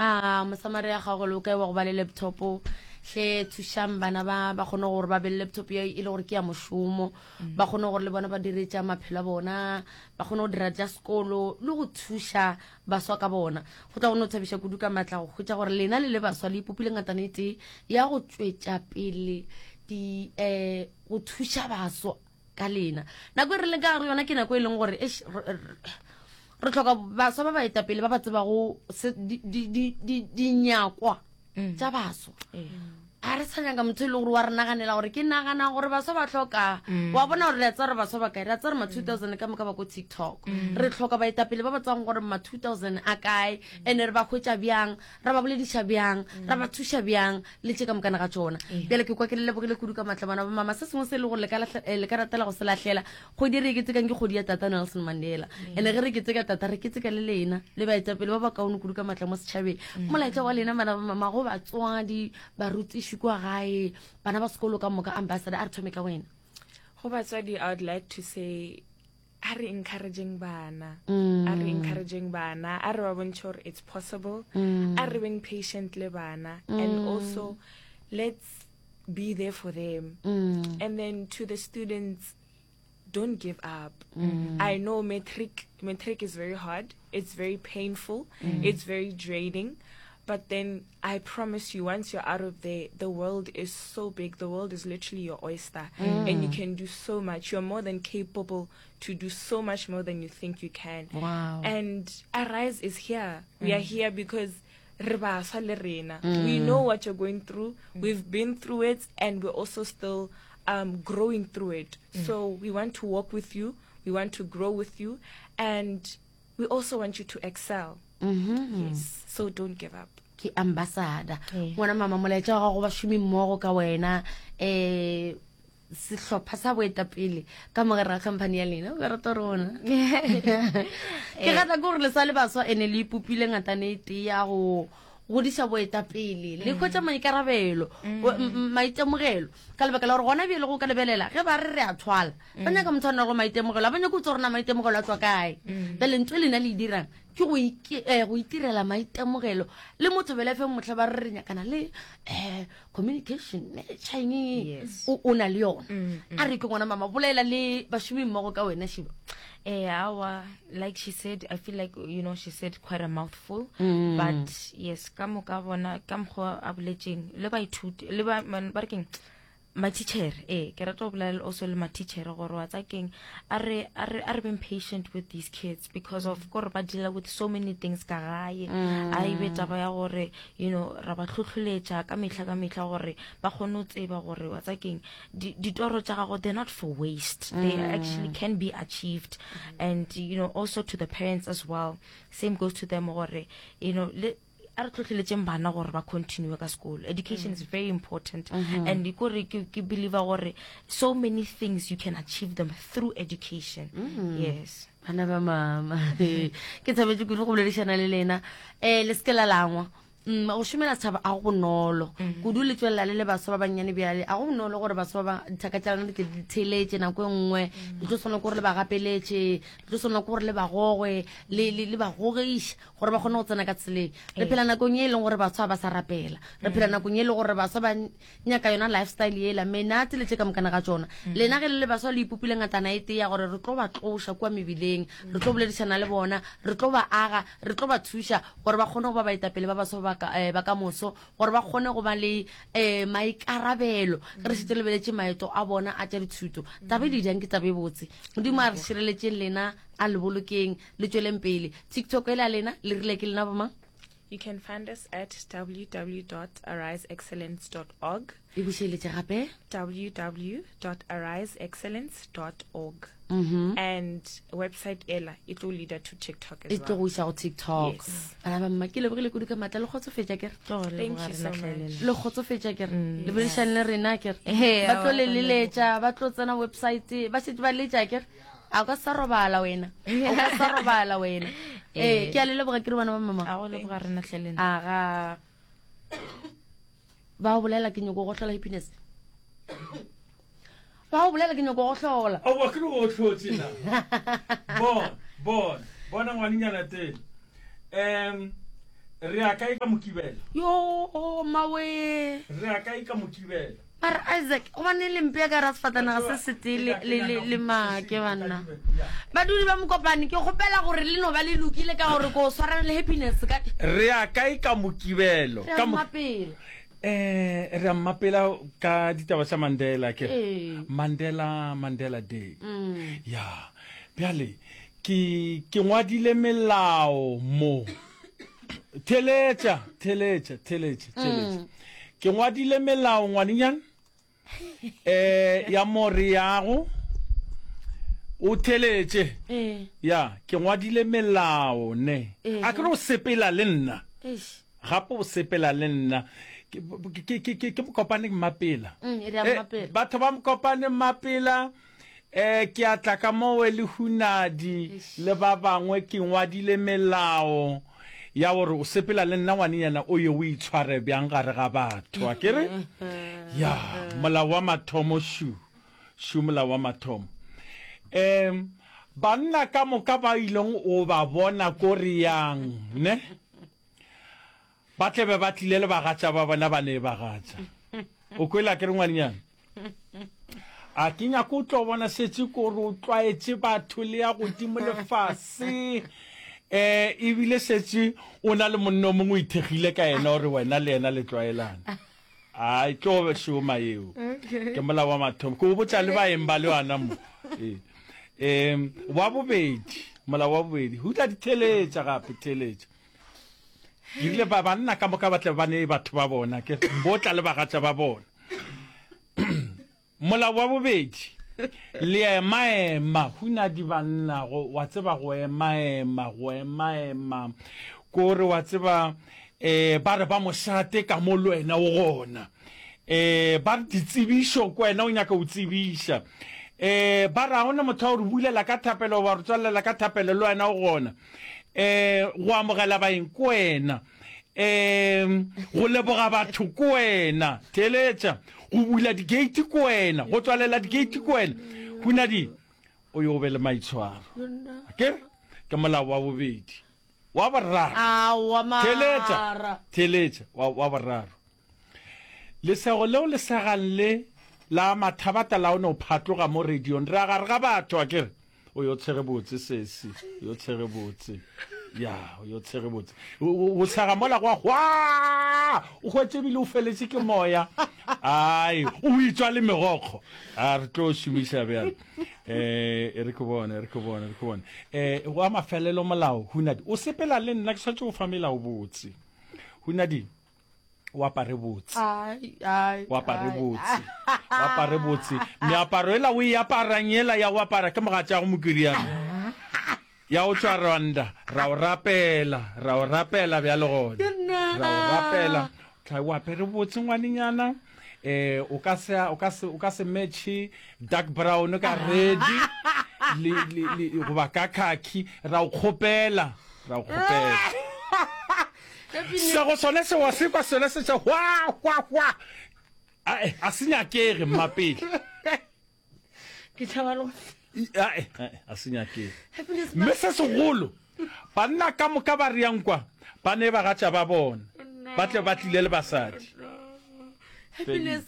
A Mosamaria gago le o kae wa go ba le laptop? Hle thušang bana ba ba kgone gore ba be le laptop ye e le gore ke ya mošomo, ba kgone gore le bona ba dire tša maphelo a bona, ba kgone go dira tša sekolo le go thuša baswa ka bona. Go tla go no thabiša kudu ka matla go hwetša gore lena le le baswa le ipopile ngatana e tee ya go tšwetša pele di um go thuša baswa ka lena. Nako e re leng ka gare yona ke nako e leng gore eish, re hloka baswa ba baetapele ba ba tsebago dinyakwa mm. tša baswa a re sa nyaka motho e le gore wa re naganela gore ke nagana gore baswa ba tlhoka mm. wa bona gore re a tsaya gore baswa ba kae re a tsaya gore ma 2000 ka moka ba ko tiktok mm. re tlhoka baetapele ba ba tsang gore ma 2000 a kae and re ba hwetša bjang ra ba bolediša bjang ra ba thuša bjang le tše ka mokana ga tšona bjale ke kwa ke le lebogile kudu ka maatla bana ba mama se sengwe se e le gore le ka eh, ratela go se lahlela kgwedi re e ketekang ke kgwedi ya tata nelson mandela ene ge re keteka tata re keteka le lena le baetapele ba ba kaone kudu ka maatla mo setšhabeng molaetša wa lena bana ba mama go batswadi barutiši kwa gae bana ba sekolo ka moka ambassador a re thome ka wena go batswadi i would like to say a re encouraging bana mm. a re encouraging bana a re ba bontšhe gore it's possible mm. a re beng patient le bana mm. and also let's be there for them mm. and then to the students don't give up mm. i know matric matric is very hard it's very painful mm. it's very draining but then I promise you, once you're out of there, the world is so big. The world is literally your oyster, mm. and you can do so much. You're more than capable to do so much more than you think you can. Wow. And Arise is here. Mm. We are mm. here because re baswa le rena. Mm. We know what you're going through. Mm. We've been through it, and we're also still um, growing through it. Mm. So we want to walk with you. We want to grow with you, and we also want you to excel. Mm -hmm. Yes. So don't give up. Ke ambassador. Ngwana mama molaetša wa gago bašomi mmogo ka wena eh sehlopha sa boetapele ka mogare ga company ya lena o ka rata rona ke rata ke gore le sa le baswa ene le ipopile ngatane e tee ya go godiša boetapele le hwetša maikarabelo mm. maitemogelo ka lebaka la gore gona bjele go ka lebelela ge ba re re a thwala ba mm. nyaka motho a nago maitemogelo a ba nyaka o tse gorena maitemogelo a tswa kae mm. bjale ntho e lena le e dirang ke go eh, itirela maitemogelo le motho bele fe motlha ba re re nyakana le um communication manager o na le yona a re ke ngwana mama bolela le bašomi mmogo ka wena shiba Eh, awa, like she said, I feel like you know she said quite a mouthful, mm. but yes, ka moka bona ka mokgwa a boletseng le baithuti le ba ba re keng matitšhere ee ke rata go bolela also le matitšhere gore wa tsa keng a re a re a re beng patient with these kids because of gore ba deala with so many things ka gae mm. a ebe taba ya gore you know ra ba tlhotlholetša ka mehla ka mehla gore ba kgone go tseba gore wa tsa keng ditoro tša gago they're not for waste mm. they actually can be achieved mm. and you know also to the parents as well same goes to them gore you know le, a re tlhotlheletseng bana gore ba continue ka sekolo education mm. is very important mm -hmm. and kore ke ke believe gore so many things you can achieve them through education mm -hmm. yes bana ba mama ke thabetse kudu go boledišana le lena um le seke la langwa Mm, go šomela setšhaba a go bonolo mm. kudu le tswelela le le baswa ba bannyane bjale a go bonolo gore baswa ba dithaka tša lena di tle di theletše nako e nngwe mm. le tlo tshwanela ke gore le ba gapeletše le tlo tshwanela ke gore le ba gogwe le ba gogiše gore ba kgone go tsena ka tseleng re phela nakong e e leng gore baswa ba sa rapela re phela nakong e leng gore baswa ba nyaka yona lifestyle yela menate le tše ka mokana ga tšona mm. lena ge le le baswa le ipopile ngatana e tee ya gore re tlo ba tloša kua mebileng re tlo boledišana le bona re tlo ba aga re tlo ba thuša gore ba kgone go ba baetapele ba baswa ba ka eh, ka moso gore ba kgone go ba le um maikarabelo ge re šetse lebeletše maeto a bona a tša dithuto taba e le jang ke taba e botse modimo a re šireletseng lena a le bolokeng le tšweleng pele tiktok e la lena le rile ke lena bomang You can find us at www.ariseexcellence.org. E bušeletše gape. www.ariseexcellence.org. Mm -hmm. And website ela e tlo leader to TikTok as well. E tlo go iša go TikTok. Yes. Bana ba mma ke lebogile kudu ka matla le kgotsofetša kere. Thank you so much. Le kgotsofetša kere. Mm. Le boledišane le rena kere. Ba tlo le leletša, ba tlo tsena website, ba šetše ba letša kere. A o ka sa robala wena. O ka sa robala wena. Ee, ke a le leboga ke re bana ba mama. A go leboga rena hle lena. Aga. Ba o bolela ke nyoko go hlola happiness. Ba o bolela ke nyoko go hlola. Aowa ke re o hlotse na. Bona, bona, bona ngwanenyana teng. Um. Re ya kae ka Mokibelo? Yo, mawe. Re ya kae ka Mokibelo? Mara Isaac, gobane le mpea ka ra sefatanaga se setee le, le, le, le make banna. Badudi ba Mokopane, ke kgopela gore le no ba le lokile ka gore ko swarana le happiness ka. Re ya kae ka Mokibelo? Re ya Mmapela. Eh, re ya Mmapela ka ditaba tša Mandela ke. Ee. Mandela, Mandela Day. Mm. Ya. Bjale ke ke ngwadile melao mo. Theletša, theletša, theletša, theletša. Ke ngwadile melao ngwanenyana eh ya mo re yago. O theletše. Eh. Ya, ke ngwadile melao ne. Eh. A ke re o sepela le nna. Eish. Gape o sepela le nna. Ke ke ke ke ke Mokopane Mmapela. Mm, e re ya Eh, Mmapela. batho ba Mokopane Mmapela Eh, ke a tla ka mowe le Hunadi le ba bangwe, ke ngwadile melao ya gore o sepela le nna ngwanenyana o ye o itshware bjang gare ga batho, a ke re? Ya, molao wa mathomo šu, šu molao wa mathomo. Um, banna ka moka ba ileng o ba bona ko re yang, ne? Ba tle be ba tlile le bagatša ba bona ba ne bagatša. O kwele a ke re ngwanenyana? A ke nyake o tlo bona šetše ko re o tlwaetše batho le ya godimo le fase. Eh ebile šetše o na le monna o mongwe o ithekgile ka yena gore wena le yena le tlwaelane. A e tlo šoma yeo. Ke molao wa mathomo. Ke o botša le baeng ba le yona mo. Ee. Em wa bobedi, molao wa bobedi. Hutla di theletša gape, theletša. Ke rile ba banna ka moka ba tle ba nee batho ba bona, ke bo tla le bagatša ba bona. Molao wa bobedi, le emaema, hunadi banna, go, wa tseba go emaema, go emaema, kore wa tseba, eh, ba re ba mošate ka mo le wena o gona. Eh, ba re ditsebišo ko wena o nyaka o tsebiša. Eh, ba re ga gona motho wa go re bulela ka thapelo goba re tswalela ka thapelo le wena o gona. um go amogela baeng ko wena um go leboga batho ko wena theeletša go bula di-gate ko wena go tswalela di-gate ko wena hunadi o yo be le maitshwaro ke ke molao wa bobedi wa boraro theeletša theeletša wa boraro Lesego leo le segang le la mathabata la o no phatloga mo radiong. Re a gare ga batho, a ke re? O yo tshege botse, sesi. O yo tshege botse. Ya, o yo tshege botse. O tshega mola gwa hwa! O hwetše ebile o feletše ke moya. Ai, o itšwa le megokgo. A re tlo šomiša bjale. Eh, e re ke bone, e re ke bone, e re ke bone. Eh, wa mafelelo molao, Hunadi. O sepela le nna, ke swanetše go fa melao botse. Hunadi, o apare botse o apare botse o apare botse meaparo ela o e aparang ela ya go apara ke mogatšago mokiriana ya o tšwa Rwanda ra o rapela ra o rapela bjale gona ra o rapela tla o apere botse ngwanenyana eh o ka se o ka se o ka se match dark brown ka red le le le goba ka khaki ra o kgopela ra o kgopela Sego sone se wa se kwa sone se tša hwa hwa hwa. Ae, a se nyakege mmapele. Ke tšhaba le go Ae, ae, a se nyakege. Mme se segolo, banna ka moka ba re yang kwa, ba ne bagatša ba bona, ba tle ba tlile le basadi. Happiness.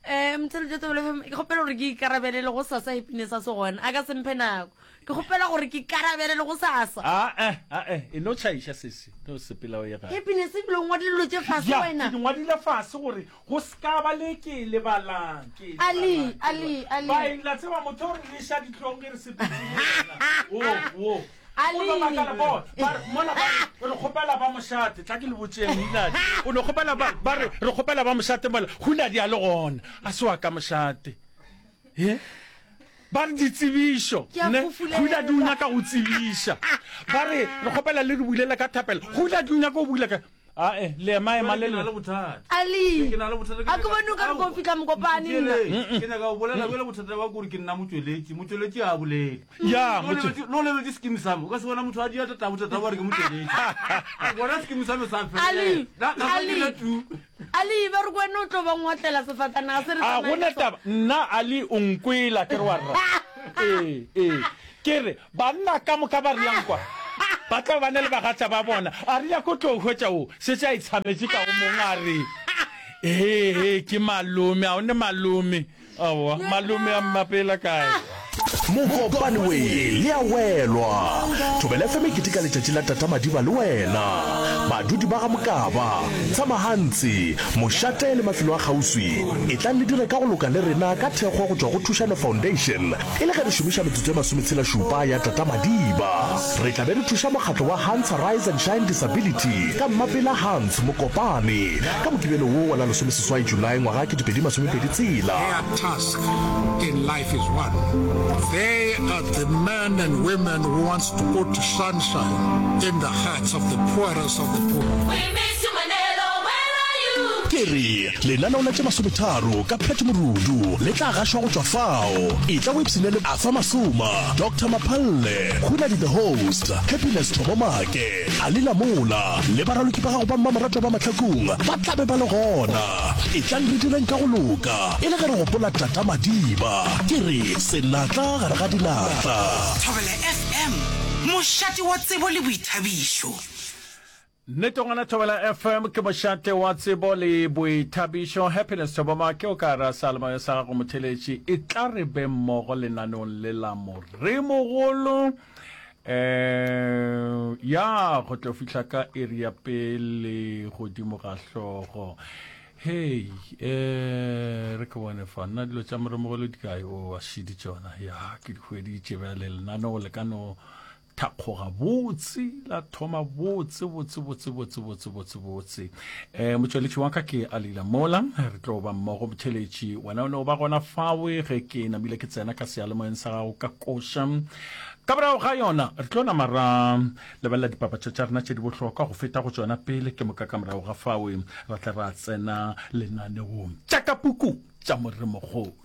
Eh, motšheletše Thobela FM, ke kgopela gore ke ikarabele le go sasa happiness a se gona. A ka se mphe nako. Ke kgopela gore ke karabele le go sasa. Ae, ae, e no tšhaiša sesi, no sepela o ye gae. Happiness ebile o ngwadile dilo tše fase Ya, wena. ke di ngwadile fase gore go se ka ba le ke e lebalang, ke e Ali, lebalang, ke e Ali, lebalang. Ali. Baeng, la tseba motho o re leša dihlong ge re sepetše le yena. Wo, wo. Ali. O no makala, bo, ba re, mola ba re, re kgopela ba mošate, tla ke le botšeng, Hunadi. O no kgopela ba, ba re, re kgopela ba mošate mola, Hunadi a le gona, a se wa ka mošate. He? Ba re ditsebišo, Ke a ne? fufulela. Hunadi o nyaka go tsebiša. Ba re, re kgopela le re bulele ka thapelo. Hunadi o nyaka go bula ka, ae, le ema-ema le Ke na le. le bothata. Ali. Ke na le bothata. A ke bone o ka re ko fihla Mokopane nna. Ntheeletše. Ke nyaka go bolela bjale bothata ba kore ke nna motšweletši. Motšweletši ga a bolele. Ya, Lo lebetše- lo lebetše skeem sa me. O ka se bona motho a dia tatabo tatabo a re ke motšweletši. Bona skeem sa me sa felela. Ali, Na- na- Ali. ke le tu. Ali, ba re ko wena o tlo ba ngotlela sefatanaga se re A tsamaya gona ka sona. taba, nna Ali o nkwela ke re wa rra. Ee, ee. Ke re, banna ka moka ba re yang kwa. Ba tlo ba na le bagatša ba bona. A re nyako tlo hwetša o šetše a itshametše ka go mong a re, Hee, hee, ke malome, a o ne malome. Aowa, malome a mmapela kae? Mokopane we le a welwa. Thobela FM e keteka letšatši la Tata Madiba le wena. Badudi ba ga Mokaba, Tshamahantsi, Mošate le mafelo a kgauswi, etlang le dire ka go loka le rena ka thekgo go tšwa go Thušano Foundation e le ge re šomiša metsotso e masometshela-šupa ya Tata Madiba. Re tla be re thuša mokgatlo wa Hans Rise and Shine Disability ka Mmapela Hans Mokopane ka Mokibelo wo wa la lesomeseswai Julae ngwaga 2026. Their task in life is one, they are the men and women who wants to put sunshine in the hearts of the poorest of the poor. We miss you Manelo, where are you? Ke re, lenaneo la tše masometharo ka Pat Morudu le tla gašwa go tšwa fao. Etla o ipshine le Arthur Masoma, Doctor Maphalle, Hunadi the Host, Happiness Thobo Make, Ali Lamola le baraloki ba gago ba mmamoratwa ba Mahlakung ba tla be ba le gona. Etlang re direng ka go loka e le ge re gopola Tata Madiba. Ke re senatla gare ga dinatla. Thobela FM, mošate wa tsebo le boithabišo. Nnete gona Thobela FM ke mošate wa tsebo le boithabišo. Happiness Thoboma ke o ka ra seyalemoya sa gago motheletši. E tla re be mmogo lenaneong le la Moremogolo. Eh ya go tlo fihla ka iri ya pele godimo ga hlogo. Hei, eh re ke bone fa nna dilo tša Moremogolo di kae? O a šidi tšona. Ya ke di hweditše bjale lenaneo le ka no thakgoga botse la thoma botse botse botse botse botse botse botse um motšweletši wa ka ke alila mola re tlo ba mmogo motheletši wena o ne o ba gona fawe ge ke namile ke tsena ka seyalemoyeng sa gago ka koša ka morago ga yona re tlo nama ra lebelela dipapatšo tša rena tše di bohlokwa go feta go tšona pele ke moka ka morago ga fawe ra tla ra tsena lenaneong tša ka puku tša moremogolo.